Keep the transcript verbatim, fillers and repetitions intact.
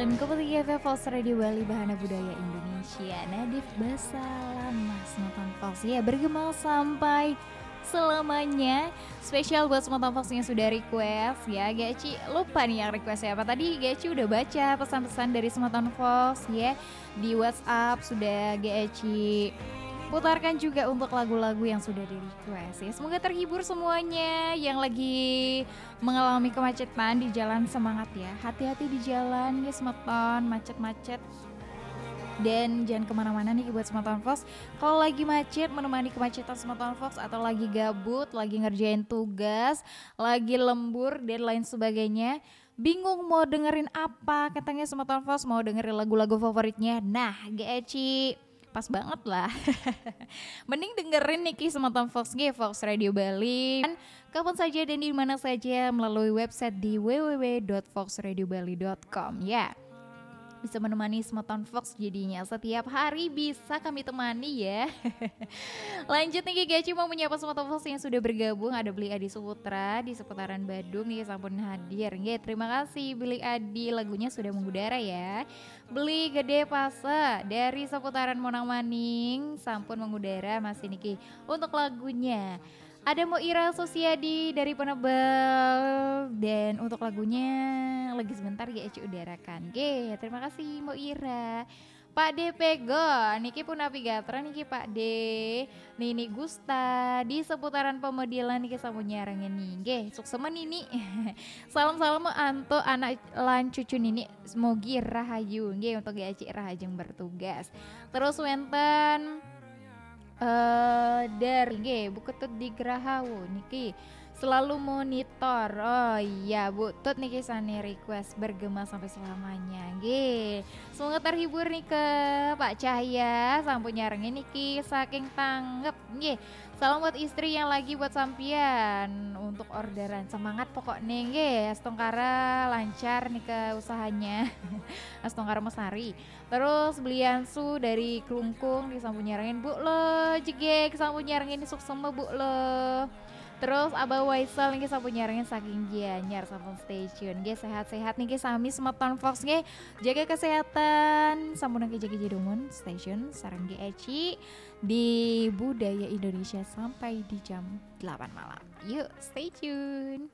Kembali ke Fox Radio Bali, Bahana Budaya Indonesia. Nadif Basalam, Mas Matan Fox. Ya, bergema sampai selamanya. Spesial buat Semeton Fox yang sudah request ya. Gak Eci lupa nih yang request siapa. Tadi Gak Eci udah baca pesan-pesan dari Semeton Fox ya. Di WhatsApp sudah Gak Eci putarkan juga untuk lagu-lagu yang sudah di request ya. Semoga terhibur semuanya yang lagi mengalami kemacetan di jalan, semangat ya. Hati-hati di jalan ya Semeton, macet-macet. Dan jangan kemana-mana nih buat Semeton Fox. Kalau lagi macet, menemani kemacetan Semeton Fox, atau lagi gabut, lagi ngerjain tugas, lagi lembur dan lain sebagainya, bingung mau dengerin apa, katanya Semeton Fox mau dengerin lagu-lagu favoritnya. Nah, Gak Eci, pas banget lah. Mending dengerin niki Semeton Fox, nggih, Fox Radio Bali. Kapan saja dan di mana saja melalui website di w w w dot fox radio bali dot com ya. Bisa menemani Semeton Fox jadinya. Setiap hari bisa kami temani ya. Lanjut nih, Gak Eci mau menyapa Semeton Fox yang sudah bergabung. Ada Beli Adi Suputra di seputaran Badung nih, sampun hadir. Nggih, terima kasih Beli Adi, lagunya sudah mengudara ya. Beli Gede Pase dari seputaran Monang Maning, sampun mengudara masih niki untuk lagunya. Ada Mo Ira Sosiadi dari Penebel. Dan untuk lagunya lagi sebentar Gak Eci udarakan. Nggih, terima kasih Mo Ira. Pak D Pego, niki punapi gatra niki Pak D. Nini Gusta di seputaran Pemedilan niki sampun nyarengin nih. Nggih, suksema Nini. Salam-salam antuk anak lan cucu Nini, semogi rahayu. Nggih, untuk Gak Eci rahajeng bertugas. Terus wenten eh dari nggih Bu Ketut di Grahawo niki selalu monitor. Oh iya, Bu Tut niki sane request bergema sampai selamanya. Nggih. Semoga terhibur nih ke Pak Cahya, sampun nyarengin niki saking Tanggep. Nggih. Salam buat istri yang lagi buat sampian untuk orderan. Semangat pokoknya nggih. Astungkara lancar nih ke usahanya. Astungkara Mesari. Terus Beliansu dari Klungkung niki sampun nyarengin, Bu lo, jegeg sampun nyarengin, suksema Bu lo. Terus Abah Waisal niki sampun nyarengin saking Gianyar, sampun stay tune. Nggih, sehat-sehat niki sami Semeton Fox nggih. Jaga kesehatan, sampun nggih jaga jedomun, stay tune sareng Gak Eci di Budaya Indonesia sampai di jam delapan malam. Yuk, stay tune.